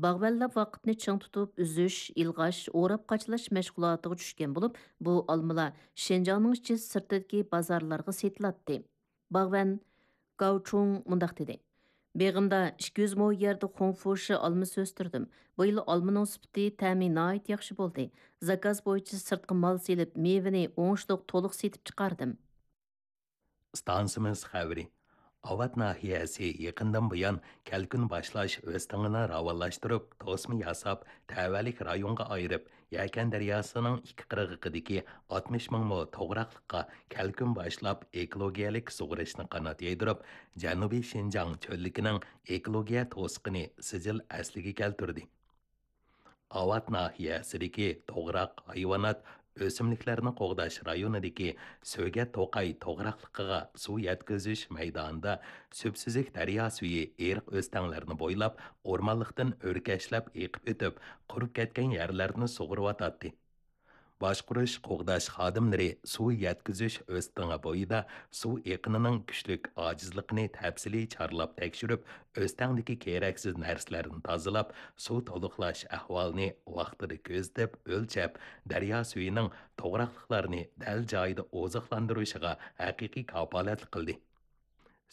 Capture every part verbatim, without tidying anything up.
باغۋەنلەر ۋاقىتنى چىڭ تۇتۇپ ئۈزۈش، ئىلغاش، ئوراپ قاچىلاش مەشغۇلاتىغا چۈشكەن بولۇپ، بۇ ئالمىلار شىنجاڭنىڭ ئىچى سىرتىدىكى بازارلارغا سېتىلاتتى. باغۋەن گاۋچۇڭ مۇنداق دېدى: «بېغىمدا ئىككى يۈز مو يەردە خۇڭفۇشى ئالمىسى ئۆستۈردۈم. بۇ يىل ئالمىنىڭ سۈپىتى، تەمى ناھايىتى ياخشى بولدى. زاكاز بويىچە سىرتقا مال سېلىپ، مېۋىنى ئوڭۇشلۇق تولۇق سېتىپ چىقاردىم.» ئىستانسىمىز خەۋىرى. ئاۋات ناھىيەسى يېقىندىن بۇيان كەلكۈن باشلاش ئۆستىڭىنى راۋانلاشتۇرۇپ، توسما ياساپ، تەۋەلىك رايونغا ئايرىپ، يەكەن دەرياسىنىڭ ئىككى قىرغىقىدىكى ئاتمىش مىڭ مو توغراقلىققا كەلكۈن باشلاپ، ئېكولوگىيەلىك سۇغىرىشنى قانات يايدۇرۇپ، جەنۇبىي شىنجاڭ چۆللۈكىنىڭ ئېكولوگىيە توسۇقىنى سىجىل ئەسلىگە كەلتۈردى. ئاۋات ناھىيەسىدىكى توغراق، ھايۋانات، ئۆسۈملۈكلەرنى قوغداش رايونىدىكى سۆگەت توقاي توغراقلىقىغا سۇ يەتكۈزۈش مەيدانىدا سۈپسۈزۈك دەريا سۈيى ئېرىق ئۆستەڭلەرنى بويلاپ، ئورمانلىقتىن ئۆركەشلەپ ئېقىپ ئۆتۈپ، قۇرۇپ كەتكەن يەرلەرنى سۇغۇرۇۋاتاتتى. باشقۇرۇش، قوغداش خادىملىرى سۇ يەتكۈزۈش ئۆستىڭى بويىدا سۇ ئېقىنىنىڭ كۈچلۈك ئاجىزلىقىنى تەپسىلىي چارلاپ تەكشۈرۈپ، ئۆستەڭدىكى كېرەكسىز نەرسىلەرنى تازىلاپ، سۇ تولۇقلاش ئەھۋالىنى ۋاقتىدا كۆزىتىپ، ئۆلچەپ، دەريا سۈيىنىڭ توغراقلىقلارنى دەل جايىدا ئوزۇقلاندۇرۇشىغا ھەقىقىي كاپالەتلىك قىلدى.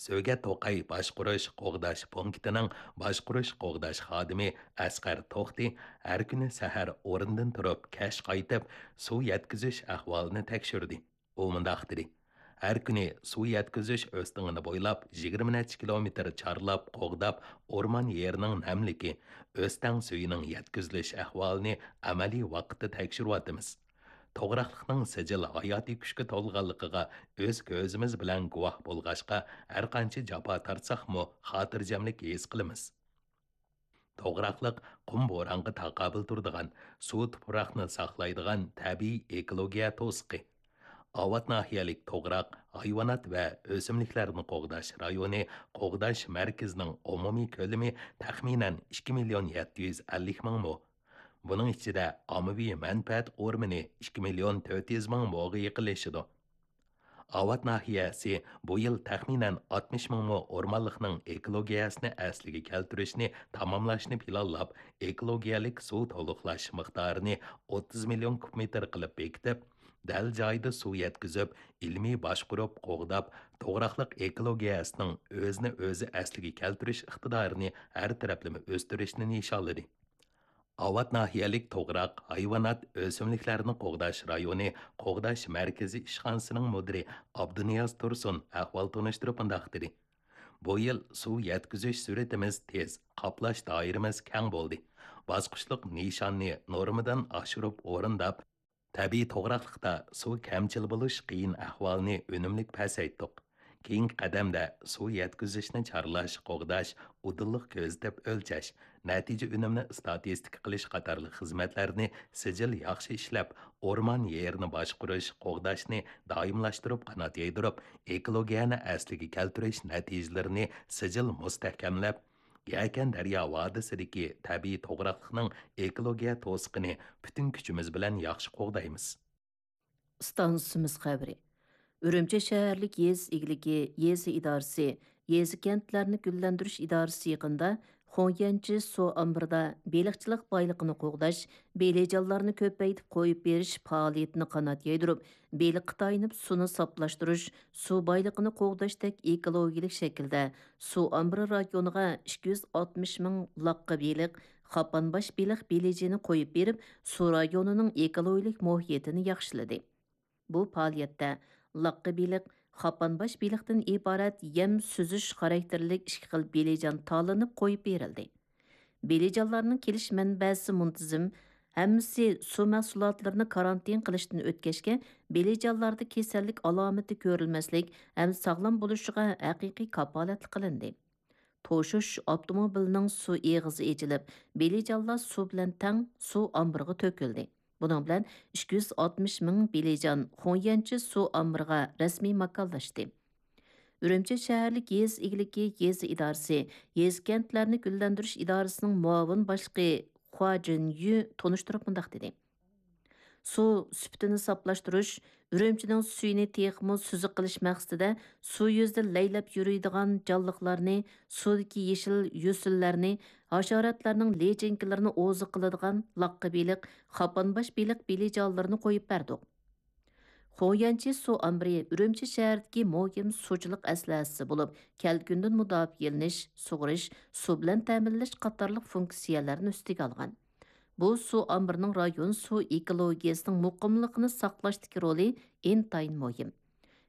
سۆگەت توقاي باشقۇرۇش قوغداش پونكىتىنىڭ باشقۇرۇش قوغداش خادىمى ئەسقەر توختى ھەر كۈنى سەھەر ئورنىدىن تۇرۇپ، كەچ قايتىپ، سۇ يەتكۈزۈش ئەھۋالىنى تەكشۈردى. ئۇ مۇنداق دېدى: «ھەر كۈنى سۇ يەتكۈزۈش ئۆستىڭىنى بويلاپ، يىگىرمە نەچچە كىلومېتىر چارلاپ، قوغداپ، ئورمان يېرىنىڭ نەملىكى، ئۆستەڭ سۈيىنىڭ يەتكۈزۈلۈش ئەھۋالىنى ئەمەلىي ۋاقىتتا تەكشۈرۈۋاتىمىز. توغراقلىقنىڭ سىجىل ھاياتىي كۈچكە تولغانلىقىغا ئۆز كۆزىمىز بىلەن گۇۋاھ بولغاچقا، ھەرقانچە جاپا تارتساقمۇ، خاتىرجەملىك ھېس قىلىمىز.» توغراقلىق قۇم بورانغا تاقابىل تۇرىدىغان، سۇ تۇپراقنى ساقلايدىغان تەبىئىي ئېكولوگىيە توسۇقى. ئاۋات ناھىيەلىك توغراق، ھايۋانات ۋە ئۆسۈملۈكلەرنى قوغداش رايونى قوغداش مەركىزىنىڭ ئومۇمىي كۆلىمى تەخمىنەن ئىككى مىليون يەتتە يۈز ئەللىك مىڭ مو. بۇنىڭ ئىچىدە ئاممىۋى مەنپەئەت ئورمىنى ئىككى مىليون تۆت يۈز مىڭ موغا يېقىنلىشىدۇ. ئاۋات ناھىيەسى بۇ يىل تەخمىنەن ئاتمىش مىڭ مو ئورمانلىقنىڭ ئېكولوگىيەسىنى ئەسلىگە كەلتۈرۈشنى تاماملاشنى پىلانلاپ، ئېكولوگىيەلىك سۇ تولۇقلاش مىقدارىنى ئوتتۇز مىليون كۇب مېتىر قىلىپ بېكىتىپ، دەل جايىدا سۇ يەتكۈزۈپ، ئىلمىي باشقۇرۇپ، قوغداپ، توغراقلىق ئېكولوگىيەسىنىڭ ئۆزىنى ئۆزى ئەسلىگە كەلتۈرۈش ئىقتىدارىنى ھەر تەرەپلىمە ئۆستۈرۈشنى نىشانلىدى. ئاۋات ناھىيەلىك توغراق، ھايۋانات، ئۆسۈملۈكلەرنى قوغداش رايونى قوغداش مەركىزى ئىشخانىسىنىڭ مۇدىرى ئابدۇنىياز تۇرسۇن ئەھۋال تونۇشتۇرۇپ مۇنداق دېدى: «بۇ يىل سۇ يەتكۈزۈش سۈرئىتىمىز تېز، قاپلاش دائىرىمىز كەڭ بولدى. باسقۇچلۇق نىشاننى نورمىدىن ئاشۇرۇپ ئورۇنداپ، تەبىئىي توغراقلىقتا سۇ كەمچىل بولۇش قىيىن ئەھۋالىنى ئۈنۈملۈك پەسەيتتۇق. كېيىنكى قەدەمدە سۇ يەتكۈزۈشنى چارلاش، قوغداش، ئۇدۇللۇق كۆزىتىپ ئۆلچەش، نەتىجە ئۈنۈمنى ئىستاتىستىكا قىلىش قاتارلىق خىزمەتلەرنى سىجىل ياخشى ئىشلەپ، ئورمان يېرىنى باشقۇرۇش، قوغداشنى دائىملاشتۇرۇپ قانات يايدۇرۇپ، ئېكولوگىيەنى ئەسلىگە كەلتۈرۈش نەتىجىلىرىنى سىجىل مۇستەھكەملەپ، يەكەن دەريا ۋادىسىدىكى تەبىئىي توغراقلىقنىڭ ئېكولوگىيە توسۇقىنى پۈتۈن كۈچىمىز بىلەن ياخشى قوغدايمىز.» ئىستانسىمىز خەۋىرى. ئۈرۈمچى شەھەرلىك يېزا ئىگىلىكى يېزا ئىدارىسى، يېزا كەنتلەرنى گۈللەندۈرۈش ئىدارىسى يېقىندا خۇڭيەنچى سۇ ئامبىرىدا بېلىقچىلىق بايلىقىنى قوغداش، بېلىجانلارنى كۆپەيتىپ قويۇپ بېرىش پائالىيىتىنى قانات يايدۇرۇپ، بېلىققا تايىنىپ سۇنى ساپلاشتۇرۇش، سۇ بايلىقىنى قوغداشتەك ئېكولوگىيەلىك شەكىلدە سۇ ئامبىرى رايونىغا ئىككى يۈز ئاتمىش مىڭ لاققا بېلىق، قاپانباش بېلىق بېلىجىنى قويۇپ بېرىپ، سۇ رايونىنىڭ ئېكولوگىيەلىك مۇھىتىنى ياخشىلىدى. بۇ پائالىيەتتە لاققا بېلىق، قاپانباش بېلىقتىن ئىبارەت يەم سۈزۈش خاراكتېرلىك ئىككى خىل بېلىجان تاللىنىپ قويۇپ بېرىلدى. بېلىجانلارنىڭ كېلىش مەنبەسى مۇنتىزىم، ھەممىسى سۇ مەھسۇلاتلىرىنى كارانتىن قىلىشتىن ئۆتكەچكە، بېلىجانلاردا كېسەللىك ئالامىتى كۆرۈلمەسلىك ھەم ساغلام بولۇشىغا ھەقىقىي كاپالەتلىك قىلىندى. توشۇش ئاپتوموبىلىنىڭ سۇ ئېغىزى ئېچىلىپ، بېلىجانلار سۇ بىلەن تەڭ سۇ ئامبىرىغا تۆكۈلدى. بۇنىڭ بىلەن ئىككى يۈز ئاتمىش مىڭ بېلىجان خۇڭيەنچى سۇ ئامبىرىغا رەسمىي ماكانلاشتى. ئۈرۈمچى شەھەرلىك يېزا ئىگىلىكى يېزا ئىدارىسى، يېزا كەنتلەرنى گۈللەندۈرۈش ئىدارىسىنىڭ مۇئاۋىن باشلىقى خۇا جىنيۈ تونۇشتۇرۇپ مۇنداق دېدى: سۇ سۈپىتىنى ساپلاشتۇرۇش، ئۈرۈمچىنىڭ سۈيىنى تېخىمۇ سۈزۈك قىلىش مەقسىتىدە سۇ يۈزىدە لەيلەپ يۈرىدىغان جانلىقلارنى، سۇدىكى يېشىل يۈسۈنلەرنى، ھاشاراتلارنىڭ لىچىنكىلىرىنى ئوزۇق قىلىدىغان لاققا بېلىق، قاپانباش بېلىق بېلىجانلىرىنى قويۇپ بەردۇق. خۇڭيەنچى سۇ ئامبىرى ئۈرۈمچى شەھىرىدىكى مۇھىم سۇچىلىق ئەسلىھەسى بولۇپ، كەلكۈندىن مۇداپىئەلىنىش، سۇغىرىش، سۇ بىلەن تەمىنلەش قاتارلىق فۇنكسىيەلەرنى ئۈستىگە ئالغان. بۇ سۇ ئامبىرىنىڭ رايون سۇ ئېكولوگىيەسىنىڭ مۇقىملىقىنى ساقلاشتىكى رولى ئىنتايىن مۇھىم.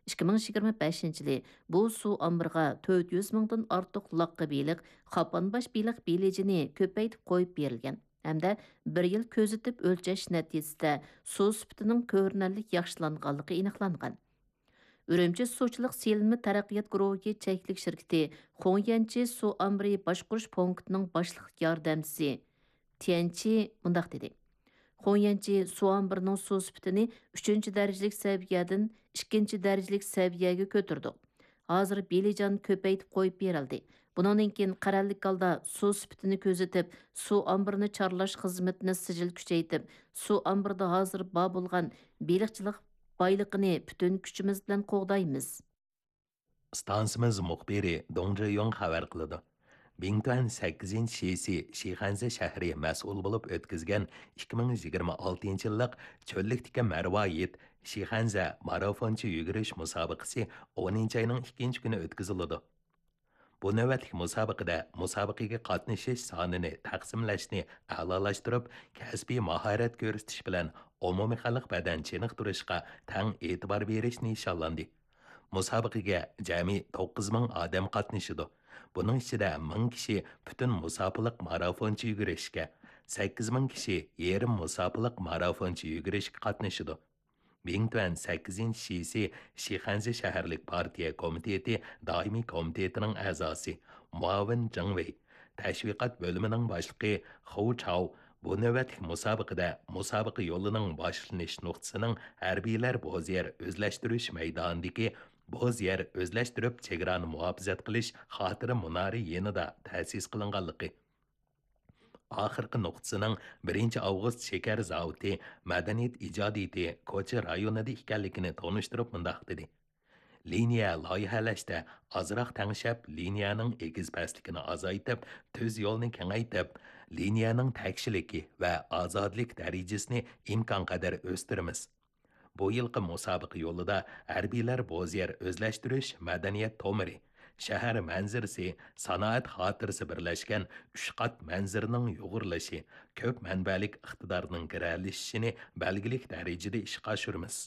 ئىككى مىڭ يىگىرمە بەشىنچى يىلى بۇ سۇ ئامبىرىغا تۆت يۈز مىڭدىن ئارتۇق لاققا بېلىق، قاپانباش بېلىق بېلىجىنى كۆپەيتىپ قويۇپ بېرىلگەن ھەمدە بىر يىل كۆزىتىپ ئۆلچەش نەتىجىسىدە سۇ سۈپىتىنىڭ كۆرۈنەرلىك ياخشىلانغانلىقى ئېنىقلانغان. ئۈرۈمچى سۇچىلىق سېلىنما تەرەققىيات گۇرۇھى چەكلىك شىركىتى خۇڭيەنچى سۇ ئامبىرى باشقۇرۇش پونكىتىنىڭ باشلىق ياردەمچىسى تيەنچى مۇنداق دېدى: خۇڭيەنچى سۇ ئامبىرىنىڭ سۇ سۈپىتىنى ئۈچىنچى دەرىجىلىك سەۋىيەدىن ئىككىنچى دەرىجىلىك سەۋىيەگە كۆتۈردۇق. ھازىر بېلىجان كۆپەيتىپ قويۇپ بېرىلدى. بۇنىڭدىن كېيىن قەرەللىك ھالدا سۇ سۈپىتىنى كۆزىتىپ، سۇ ئامبىرىنى چارلاش خىزمىتىنى سىجىل كۈچەيتىپ، سۇ ئامبىرىدا ھازىر بار بولغان بېلىقچىلىق بايلىقىنى پۈتۈن كۈچىمىز بىلەن قوغدايمىز. ئىستانسىمىز مۇخبىرى دۇڭ جېيۇڭ خەۋەر قىلىدۇ. بىڭتۈەن سەككىزىنچى شىسى شىخەنزە شەھىرى مەسئۇل بولۇپ ئۆتكۈزگەن ئىككى مىڭ يىگىرمە ئالتىنچى يىللىق چۆللۈكتىكى مەرۋايىت شىخەنزە مارافونچە يۈگۈرۈش مۇسابىقىسى ئونىنچى ئاينىڭ ئىككىنچى كۈنى ئۆتكۈزۈلىدۇ. بۇ نۆۋەتلىك مۇسابىقىدە مۇسابىقىگە قاتنىشىش سانىنى تەقسىملەشنى ئەلالاشتۇرۇپ، كەسپىي ماھارەت كۆرسىتىش بىلەن ئومۇمىي خەلق بەدەن چېنىقتۇرۇشقا تەڭ ئېتىبار بېرىش نىشانلاندى. مۇسابىقىگە جەمئىي توققۇز مىڭ ئادەم قاتنىشىدۇ. بۇنىڭ ئىچىدە مىڭ كىشى پۈتۈن مۇساپىلىق مارافونچە يۈگۈرۈشكە، سەككىز مىڭ كىشى يېرىم مۇساپىلىق مارافونچە يۈگۈرۈشكە قاتنىشىدۇ. بىڭتۈەن سەككىزىنچى شىسى شىخەنزە شەھەرلىك پارتىيە كومىتېتى دائىمىي كومىتېتىنىڭ ئەزاسى، مۇئاۋىن جېڭ ۋېي، تەشۋىقات بۆلۈمىنىڭ باشلىقى خۇ چاۋ بۇ نۆۋەتلىك مۇسابىقىدە مۇسابىقە يولىنىڭ باشلىنىش نۇقتىسىنىڭ ھەربىيلەر بوز يەر ئۆزلەشتۈرۈش مەيدانىدىكى بوز يەر ئۆزلەشتۈرۈپ چېگرانى مۇھاپىزەت قىلىش خاتىرە مۇنارى يېنىدا تەسىس قىلىنغانلىقى، ئاخىرقى نۇقتىسىنىڭ بىرىنچى ئاۋغۇست شېكەر زاۋۇتى مەدەنىيەت ئىجادىيىتى كوچا رايونىدا ئىكەنلىكىنى تونۇشتۇرۇپ مۇنداق دېدى: لىنىيە لايىھەلەشتە ئازراق تەڭشەپ، لىنىيەنىڭ ئېگىز پەسلىكىنى ئازايتىپ، تۈز يولنى كېڭەيتىپ، لىنىيەنىڭ تەكشىلىكى ۋە ئازادىلىك دەرىجىسىنى ئىمكانقەدەر ئۆستۈرىمىز. بۇ يىلقى مۇسابىقە يولىدا ھەربىيلەر بوز يەر ئۆزلەشتۈرۈش مەدەنىيەت تومۇرى، شەھەر مەنزىرىسى، سانائەت خاتىرىسى بىرلەشكەن ئۈچ قات مەنزىرىنىڭ يۇغۇرۇلۇشى، كۆپ مەنبەلىك ئىقتىدارنىڭ گىرەلىشىشىنى بەلگىلىك دەرىجىدە ئىشقا ئاشۇرىمىز.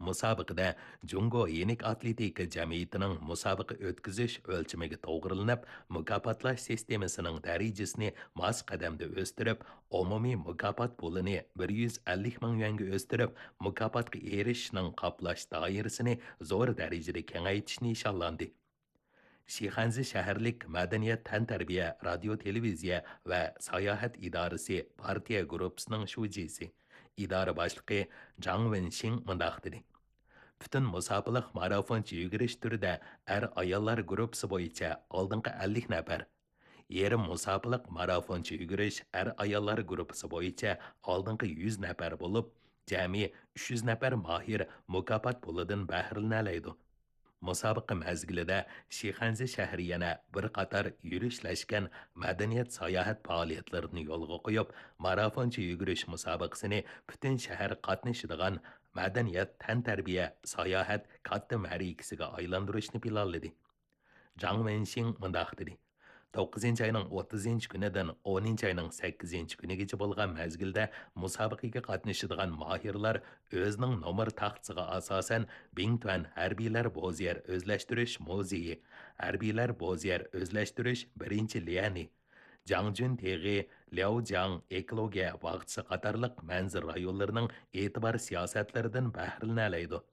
مۇسابىقىدە جۇڭگو يېنىك ئاتلېتىكا جەمئىيىتىنىڭ مۇسابىقە ئۆتكۈزۈش ئۆلچىمىگە توغرىلىنىپ، مۇكاپاتلاش سىستېمىسىنىڭ دەرىجىسىنى ماس قەدەمدە ئۆستۈرۈپ، ئومۇمىي مۇكاپات پۇلىنى بىر يۈز ئەللىك مىڭ يۈەنگە ئۆستۈرۈپ، مۇكاپاتقا ئېرىشىشنىڭ قاپلاش دائىرىسىنى زور دەرىجىدە كېڭەيتىش نىشانلاندى. شىخەنزە شەھەرلىك مەدەنىيەت، تەنتەربىيە، رادىيو، تېلېۋىزىيە ۋە ساياھەت ئىدارىسى پارتىيە گۇرۇپپىسىنىڭ شۇجىسى، ئىدارە باشلىقى جاڭ ۋېنشىڭ مۇنداق دېدى: پۈتۈن مۇساپىلىق مارافونچە يۈگۈرۈش تۈرىدە ئەر-ئاياللار گۇرۇپپىسى بويىچە ئالدىنقى ئەللىك نەپەر، يېرىم مۇساپىلىق مارافونچە يۈگۈرۈش ئەر-ئاياللار گۇرۇپپىسى بويىچە ئالدىنقى يۈز نەپەر بولۇپ، جەمئىي ئۈچ يۈز نەپەر ماھىر مۇكاپات پۇلىدىن بەھرىلىنەلەيدۇ. مۇسابىقە مەزگىلىدە شىخەنزە شەھىرى يەنە بىر قاتار يۈرۈشلەشكەن مەدەنىيەت ساياھەت پائالىيەتلىرىنى يولغا قويۇپ، مارافونچە يۈگۈرۈش مۇسابىقىسىنى پۈتۈن شەھەر قاتنىشىدىغان مەدەنىيەت، تەنتەربىيە، ساياھەت كاتتا مەرىكىسىگە ئايلاندۇرۇشنى پىلانلىدى. جاڭ ۋېنشىڭ مۇنداق دېدى: توققۇزىنچى ئاينىڭ ئوتتۇزىنچى كۈنىدىن ئونىنچى ئاينىڭ سەككىزىنچى كۈنىگىچە بولغان مەزگىلدە مۇسابىقىگە قاتنىشىدىغان ماھىرلار ئۆزىنىڭ نومۇر تاختىسىغا ئاساسەن، بىڭتۈەن ھەربىيلەر بوز يەر ئۆزلەشتۈرۈش مۇزېيى، ھەربىيلەر بوز يەر ئۆزلەشتۈرۈش بىرىنچى ليەنى، جاڭجۈن تېغى، لياۋجياڭ ئېكولوگىيە باغچىسى قاتارلىق مەنزىرە رايونلىرىنىڭ ئېتىبار سىياسەتلىرىدىن بەھرىلىنەلەيدۇ.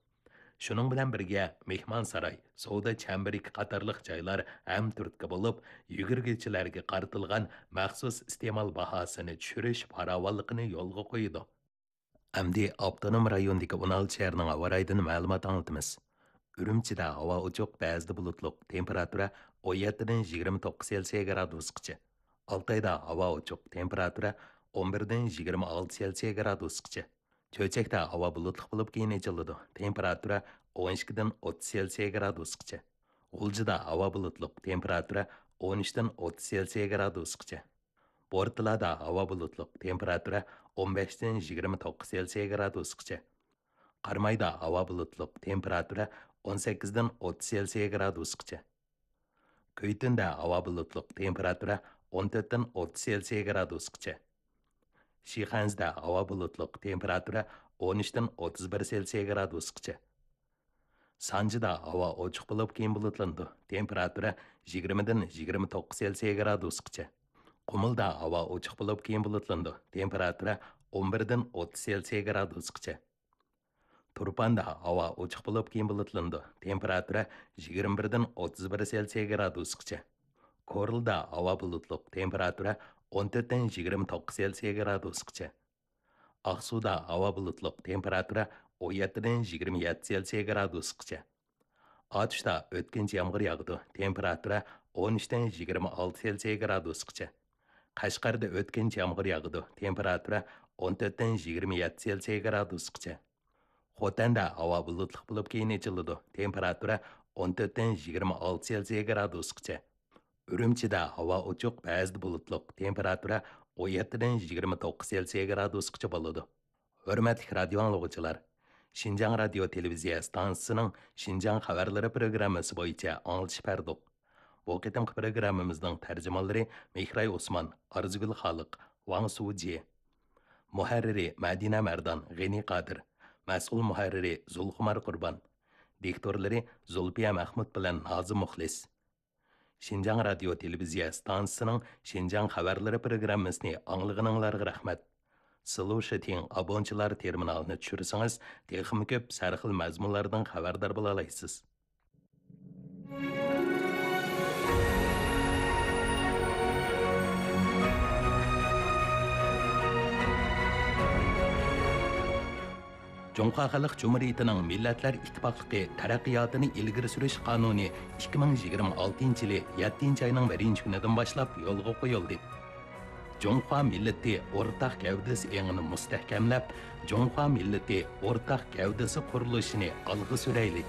شۇنىڭ بىلەن بىرگە، مېھمانساراي، سودا چەمبىرىكى قاتارلىق جايلار ھەم تۈرتكە بولۇپ، يۈگۈرگۈچىلەرگە قارىتىلغان مەخسۇس ئىستېمال باھاسىنى چۈشۈرۈش پاراۋانلىقىنى يولغا قويىدۇ. ئەمدى ئاپتونوم رايوندىكى ئون ئالتە شەھەرنىڭ ھاۋا رايىدىن مەلۇمات ئاڭلىتىمىز. ئۈرۈمچىدە ھاۋا ئوچۇق، بەزىدە بۇلۇتلۇق، تېمپېراتۇرا ئون يەتتىدىن يىگىرمە توققۇز سېلسىيە گرادۇسقىچە. ئالتايدا ھاۋا ئوچۇق، تېمپېراتۇرا ئون بىردىن يىگىرمە ئالتە سېلسىيە گرادۇسقىچە. چۆچەكتە ھاۋا بۇلۇتلۇق بولۇپ، كېيىن ئېچىلىدۇ. تېمپېراتۇرا ئون ئىككىدىن ئوتتۇز سېلسىيە گرادۇسقىچە. غۇلجىدا ھاۋا بۇلۇتلۇق، تېمپېراتۇرا ئون ئۈچتىن ئوتتۇز سېلسىيە گرادۇسقىچە. بورتالادا ھاۋا بۇلۇتلۇق، تېمپېراتۇرا ئون بەشتىن يىگىرمە توققۇز سېلسىيە گرادۇسقىچە. قارامايدا ھاۋا بۇلۇتلۇق، تېمپېراتۇرا ئون سەككىزدىن ئوتتۇز سېلسىيە گرادۇسقىچە. كۈيتۈندە ھاۋا بۇلۇتلۇق، تېمپېراتۇرا ئون تۆتتىن ئوتتۇز سېلسىيە گرادۇسقىچە. شىخەنزىدە ھاۋا بۇلۇتلۇق، تېمپېراتۇرا ئون ئۈچتىن ئوتتۇز بىر سېلسىيە گرادۇسقىچە. سانجىدا ھاۋا ئوچۇق بولۇپ، كېيىن بۇلۇتلىنىدۇ، تېمپېراتۇرا يىگىرمىدىن يىگىرمە توققۇز سېلسىيە گرادۇسقىچە. قۇمۇلدا ھاۋا ئوچۇق بولۇپ، كېيىن بۇلۇتلىنىدۇ، تېمپېراتۇرا ئون بىردىن ئوتتۇز سېلسىيە گرادۇسقىچە. تۇرپاندا ھاۋا ئوچۇق بولۇپ، كېيىن بۇلۇتلىنىدۇ، تېمپېراتۇرا يىگىرمە بىردىن ئوتتۇز بىر سېلسىيە گرادۇسقىچە. كورلىدا ھاۋا بۇلۇتلۇق، تېمپېراتۇرا ئون تۆتتىن يىگىرمە توققۇز سېلسىيە گرادۇسقىچە. ئاقسۇدا ھاۋا بۇلۇتلۇق، تېمپېراتۇرا ئون يەتتىدىن يىگىرمە يەتتە سېلسىيە گرادۇسقىچە. ئاتۇشتا ئۆتكۈنچى يامغۇر ياغىدۇ، تېمپېراتۇرا ئون ئۈچتىن يىگىرمە ئالتە سېلسىيە گرادۇسقىچە. قەشقەردە ئۆتكۈنچى يامغۇر ياغىدۇ، تېمپېراتۇرا ئون تۆتتىن يىگىرمە يەتتە سېلسىيە گرادۇسقىچە. خوتەندە ھاۋا بۇلۇتلۇق بولۇپ، كېيىن ئېچىلىدۇ، تېمپېراتۇرا ئون تۆتتىن يىگىرمە ئالتە سېلسىيە گرادۇسقىچە. ئۈرۈمچىدە ھاۋا ئوچۇق، بەزىدە بۇلۇتلۇق، تېمپېراتۇرا ئون يەتتىدىن يىگىرمە توققۇز سېلسىيە گرادۇسقىچە بولىدۇ. ھۆرمەتلىك رادىيو ئاڭلىغۇچىلار، شىنجاڭ رادىيو تېلېۋىزىيە ئىستانسىسىنىڭ شىنجاڭ خەۋەرلىرى پروگراممىسى بويىچە ئاڭلىتىش بەردۇق. بۇ قېتىمقى پروگراممىمىزنىڭ تەرجىمانلىرى مېھراي ئوسمان، ئارزۇگۈل خالىق، ۋاڭ سۇجى. مۇھەررىرى مەدىنە مەردان، غېنى قادىر. مەسئۇل مۇھەررىرى زۇلخۇمار قۇربان. دىكتورلىرى زۇلپىيە مەخمۇت بىلەن نازىم مۇخلىس. شىنجاڭ رادىيو تېلېۋىزىيە ئىستانسىسىنىڭ شىنجاڭ خەۋەرلىرى پروگراممىسىنى ئاڭلىغىنىڭلارغا رەھمەت. سلۇشىتىڭ ئابونچىلار تېرمىنالىنى چۈشۈرسىڭىز، تېخىمۇ كۆپ سەرخىل مەزمۇنلاردىن خەۋەردار بولالايسىز. جۇڭخۇا خەلق جۇمھۇرىيىتىنىڭ مىللەتلەر ئىتتىپاقلىقى تەرەققىياتىنى ئىلگىرى سۈرۈش قانۇنى ئىككى مىڭ يىگىرمە ئالتىنچى يىلى يەتتىنچى ئاينىڭ بىرىنچى كۈنىدىن باشلاپ يولغا قويۇلدى. جۇڭخۇا مىللىتى ئورتاق گەۋدىسى ئېڭىنى مۇستەھكەملەپ، جۇڭخۇا مىللىتى ئورتاق گەۋدىسى قۇرۇلۇشىنى ئالغا سۈرەيلى!